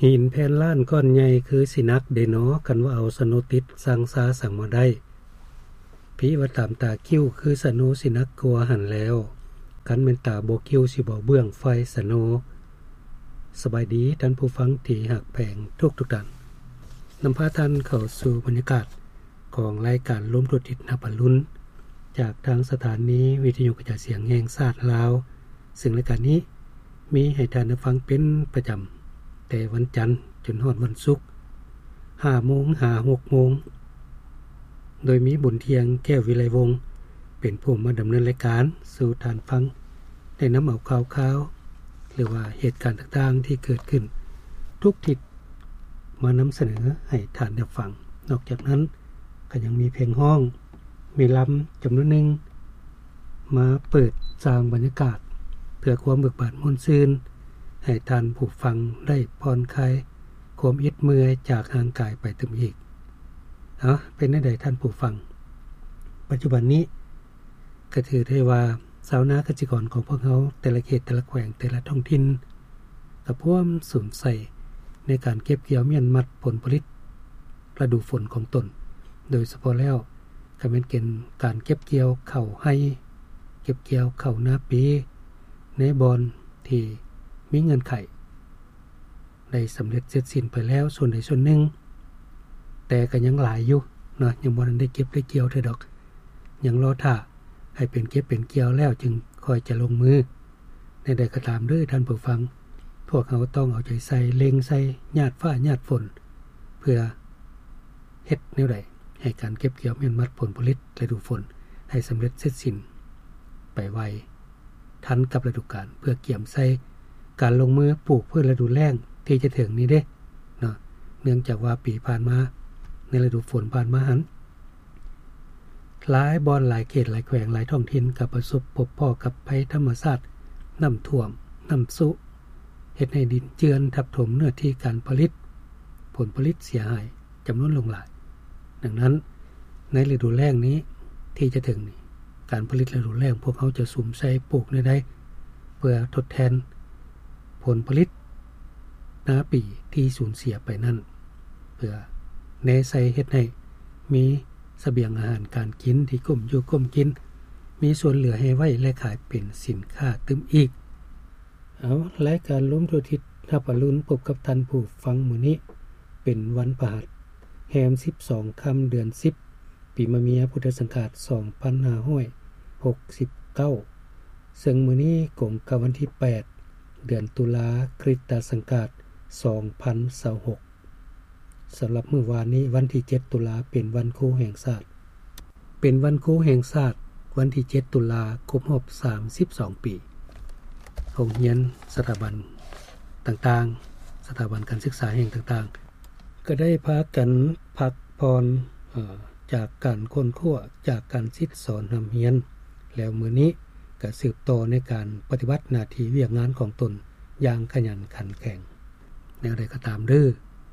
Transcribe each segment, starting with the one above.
ຫີນແຜ່ນລ້ານກ້ອນໃຫຍ່ຄືຊິໜັກເດນໍ ຄັນວ່າເອົາສະໂນຕິດ ຊ່າງຊ້າຊ່າງມາໄດ້. ພີວ່າຕາມຕາຄິ້ວຄືສະໂນຊິໜັກກວ່າຫັ້ນແລ້ວ ຄັນແມ່ນຕາບໍ່ຄິ້ວຊິບໍ່ເບື້ອງໄຟສະໂນ. ສະບາຍດີທ່ານຜູ້ຟັງທີ່ຮັກແພງທຸກໆທ່ານ. ນຳພາທ່ານເຂົ້າສູ່ບັນຍາກາດ ຂອງລາຍການລົມທົ່ວທິດຮັບອະລຸນ ຈາກທາງສະຖານີວິທະຍຸກະຈາຍສຽງແຫ່ງຊາດລາວ, ເຊິ່ງລາຍການນີ້ມີໃຫ້ທ່ານໄດ້ຟັງເປັນປະຈຳ ແຕ່ວັນຈັນຈົນຮອດວັນສຸກ ຫ້າໂມງຫາຫົກໂມງ, ໂດຍມີບຸນທ່ຽງ ແກ້ວວິໄລວົງ ເປັນຜູ້ມາດຳເນີນລາຍການສູ່ທ່ານຟັງ ໄດ້ນຳເອົາຂ່າວຄາວ ຫຼືວ່າເຫດການຕ່າງໆທີ່ເກີດຂຶ້ນທຸກທິດ ມານຳສະເໜີໃຫ້ທ່ານໄດ້ຟັງ. ນອກຈາກນັ້ນ ກໍຍັງມີເພງຮ້ອງ, ມີລຳຈຳນວນໜຶ່ງ ມາເປີດສ້າງບັນຍາກາດ ເພື່ອຄວາມເບີກບານມ່ວນຊື່ນ ໃຫ້ທ່ານຜູ້ຟັງໄດ້ຜ່ອນຄາຍຄວາມອິດເມື່ອຍຈາກຮ່າງກາຍໄປຕື່ມອີກ. ເອົາ, ເປັນແນວໃດທ່ານຜູ້ຟັງ? ປັດຈຸບັນນີ້ ກໍຖືໄດ້ວ່າຊາວນາກະສິກອນຂອງພວກເຮົາ ແຕ່ລະເຂດ ແຕ່ລະແຂວງ ແຕ່ລະທ້ອງຖິ່ນ ກໍພວມສຸມໃສ່ໃນການເກັບກ່ຽວມ້ຽນມັດຜົນຜະລິດລະດູຝົນຂອງຕົນ, ໂດຍສະເພາະແລ້ວກໍແມ່ນເປັນການເກັບກ່ຽວເຂົ້າໄຮ່, ເກັບກ່ຽວເຂົ້ານາປີ ໃນບ່ອນທີ່ມີເງື່ອນໄຂ ໄດ້ສຳເລັດເສັດສິ້ນໄປແລ້ວສ່ວນໃດສ່ວນໜຶ່ງ, ແຕ່ກໍຍັງຫຼາຍຢູ່ເນາະ, ຍັງບໍ່ທັນໄດ້ເກັບໄດ້ກ່ຽວເທື່ອດອກ, ຍັງລໍຖ້າໃຫ້ເປັນເກັບເປັນກ່ຽວແລ້ວຈຶ່ງຄ່ອຍຈະລົງມື. ແນວໃດກໍຕາມເດີທ່ານຜູ້ຟັງ, ພວກເຮົາຕ້ອງເອົາໃຈໃສ່, ເລັ່ງໃສ່, ຍາດຟ້າຍາດຝົນ ເພື່ອເຮັດແນວໃດໃຫ້ການເກັບກ່ຽວມ້ຽນມັດຜົນຜະລິດລະດູຝົນໃຫ້ສຳເລັດເສັດສິ້ນໄປໄວ. ທັນກັບລະດູການ ເພື່ອກຽມໃສ່ການລົງມືປູກພືດລະດູແລ້ງທີ່ຈະເຖິງນີ້ເດ້ເນາະ, ເນື່ອງຈາກວ່າປີຜ່ານມາ ໃນລະດູຝົນຜ່ານມາຫັ້ນ ຫຼາຍບ່ອນ ຫຼາຍເຂດ ຫຼາຍແຂວງ ຫຼາຍທ້ອງຖິ່ນ ກໍປະສົບພົບພໍ້ກັບໄພທຳມະຊາດ ນ້ຳຖ້ວມ, ນ້ຳຊຸ ເຮັດໃຫ້ດິນເຈື່ອນທັບຖົມເນື້ອທີ່ການຜະລິດ, ຜົນຜະລິດເສຍຫາຍ ຈຳນວນຫຼວງຫຼາຍ. ດັ່ງນັ້ນ ໃນລະດູແລ້ງນີ້ທີ່ຈະເຖິງນີ້ ການຜະລິດລະດູແລ້ງ ພວກເຮົາຈະສຸມໃສ່ປູກແນວໃດ ເພື່ອທົດແທນຜົນຜະລິດນາປີທີ່ສູນເສຍໄປນັ້ນ, ເພື່ອແນໃສ່ເຮັດໃຫ້ມີສະບຽງອາຫານການກິນທີ່ກຸ້ມຢູ່ກຸ້ມກິນ, ມີສ່ວນເຫຼືອໃຫ້ໄວ້ ແລະ ຂາຍເປັນສິນຄ້າຕື່ມອີກ. ເອົາ, ລາຍການລົມທົ່ວທິດຮັບອະລຸນ ພົບກັບທ່ານຜູ້ຟັງມື້ນີ້ ເປັນວັນພະຫັດ ແຮມສິບສອງຄ່ຳເດືອນສິບ ປີມະເມຍ ພຸດທະສັງກາດ ສອງພັນຫ້າຮ້ອຍຫົກສິບເກົ້າ ເຊິ່ງມື້ນີ້ກົງກັບວັນທີແປດ ເດືອນຕຸລາ ຄຣິສຕະສັງກາດ ສອງພັນຊາວຫົກ. ສຳລັບມື້ວານນີ້ ວັນທີເຈັດ ຕຸລາ ເປັນວັນຄູແຫ່ງຊາດ. ເປັນວັນຄູແຫ່ງຊາດ ວັນທີເຈັດ ຕຸລາ ຄົບຮອບສາມສິບສອງປີ. ໂຮງຮຽນ, ສະຖາບັນຕ່າງໆ, ສະຖາບັນການສຶກສາແຫ່ງຕ່າງໆ ກໍໄດ້ພາກັນພັກຜ່ອນ, ເອີ, ຈາກການຄົ້ນຄວ້າ, ຈາກການສິດສອນຮ່ຳຮຽນ, ແລ້ວມື້ນີ້ກໍສືບຕໍ່ໃນການປະຕິບັດໜ້າທີ່ວຽກງານຂອງຕົນຢ່າງຂະຫຍັນຂັນແຂງ. ແນວໃດກໍຕາມເດີ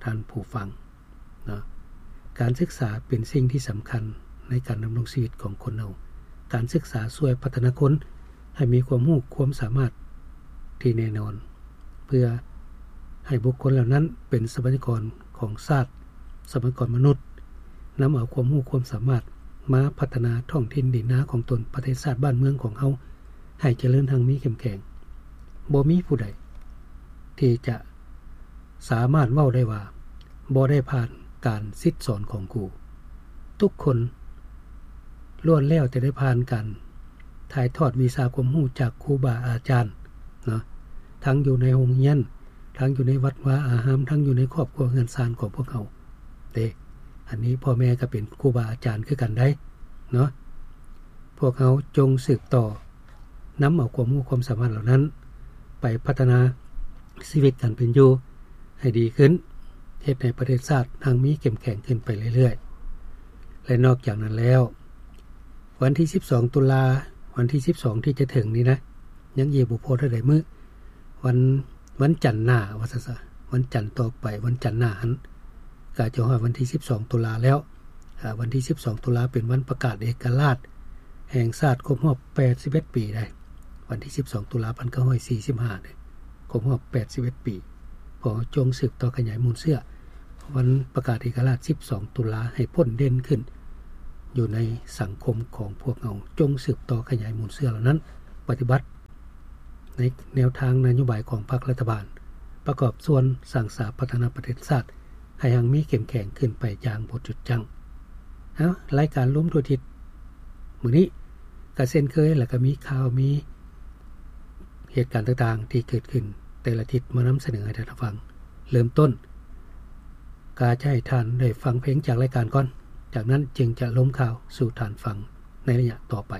ທ່ານຜູ້ຟັງເນາະ, ການສຶກສາເປັນສິ່ງທີ່ສຳຄັນໃນການດຳລົງຊີວິດຂອງຄົນເຮົາ. ການສຶກສາຊ່ວຍພັດທະນາຄົນໃຫ້ມີຄວາມຮູ້ຄວາມສາມາດທີ່ແນ່ນອນ ເພື່ອໃຫ້ບຸກຄົນເຫຼົ່ານັ້ນເປັນຊັບພະຍາກອນຂອງຊາດ, ຊັບພະຍາກອນມະນຸດ, ນຳເອົາຄວາມຮູ້ຄວາມສາມາດມາພັດທະນາທ້ອງຖິ່ນດິນນາຂອງຕົນ, ປະເທດຊາດບ້ານເມືອງຂອງເຮົາ ໃຫ້ຈະເລີນຮັ່ງມີເຂັ້ມແຂງ. ບໍ່ມີຜູ້ໃດທີ່ຈະສາມາດເວົ້າໄດ້ວ່າບໍ່ໄດ້ຜ່ານການສິດສອນຂອງຄູ. ທຸກຄົນລ້ວນແລ້ວແຕ່ໄດ້ຜ່ານການຖ່າຍທອດວິຊາຄວາມຮູ້ຈາກຄູບາອາຈານເນາະ, ທັງຢູ່ໃນໂຮງຮຽນ, ທັງຢູ່ໃນວັດວາອາຮາມ, ທັງຢູ່ໃນຄອບຄົວເຮືອນຊານຂອງພວກເຮົາເດ້. ອັນນີ້ພໍ່ແມ່ກໍເປັນຄູບາອາຈານຄືກັນໄດ໋ເນາະ. ພວກເຮົາຈົ່ງສືບຕໍ່ ນຳເອົາຄວາມຮູ້ຄວາມສາມາດເຫຼົ່ານັ້ນໄປພັດທະນາຊີວິດການເປັນຢູ່ໃຫ້ດີຂຶ້ນ, ເຮັດໃຫ້ປະເທດຊາດຮັ່ງມີເຂັ້ມແຂງຂຶ້ນໄປເລື້ອຍໆ. ແລະ ນອກຈາກນັ້ນແລ້ວ ວັນທີສິບສອງ ຕຸລາ, ວັນທີສິບສອງ ທີ່ຈະເຖິງນີ້ນະ, ຍັງອີກບໍ່ພໍເທົ່າໃດມື້, ວັນ, ວັນຈັນໜ້າວ່າຊັ້ນຊະ, ວັນຈັນຕໍ່ໄປ, ວັນຈັນໜ້າຫັ້ນ ກໍຈະຮອດວັນທີສິບສອງ ຕຸລາແລ້ວ. ອາ, ວັນທີສິບສອງ ຕຸລາເປັນວັນປະກາດເອກະລາດແຫ່ງຊາດຄົບຮອບແປດສິບເອັດປີໄດ໋. ວັນທີສິບສອງ ຕຸລາ ພັນເກົ້າຮ້ອຍສີ່ສິບຫ້າເດ້, ຄົບຮອບແປດສິບເອັດປີ. ກໍຈົ່ງສືບຕໍ່ຂະຫຍາຍມູນເຊື້ອ ວັນປະກາດເອກະລາດສິບສອງຕຸລາ ໃຫ້ພົ້ນເດັ່ນຂຶ້ນຢູ່ໃນສັງຄົມຂອງພວກເຮົາ. ຈົ່ງສືບຕໍ່ຂະຫຍາຍມູນເຊື້ອເຫຼົ່ານັ້ນ ປະຕິບັດໃນແນວທາງນະໂຍບາຍຂອງພັກລັດຖະບານ ປະກອບສ່ວນສ້າງສາພັດທະນາປະເທດຊາດ ໃຫ້ຮັ່ງມີເຂັ້ມແຂງຂຶ້ນໄປຢ່າງບໍ່ຢຸດຢັ້ງ. ເອົາ ລາຍການລວມທົ່ວທິດມື້ນີ້ ກໍເຊັ່ນເຄີຍ ແລ້ວກໍມີຂ່າວ ມີເຫດການຕ່າງໆທີ່ເກີດຂຶ້ນແຕ່ລະທິດ ມານຳສະເໜີໃຫ້ທ່ານໄດ້ຟັງ. ເລີ່ມຕົ້ນ ກໍຈະໃຫ້ທ່ານໄດ້ຟັງເພງຈາກລາຍການກ່ອນ ຈາກນັ້ນຈຶ່ງຈະລົມຂ່າວສູ່ທ່ານຟັງໃນໄລຍະຕໍ່ໄປ.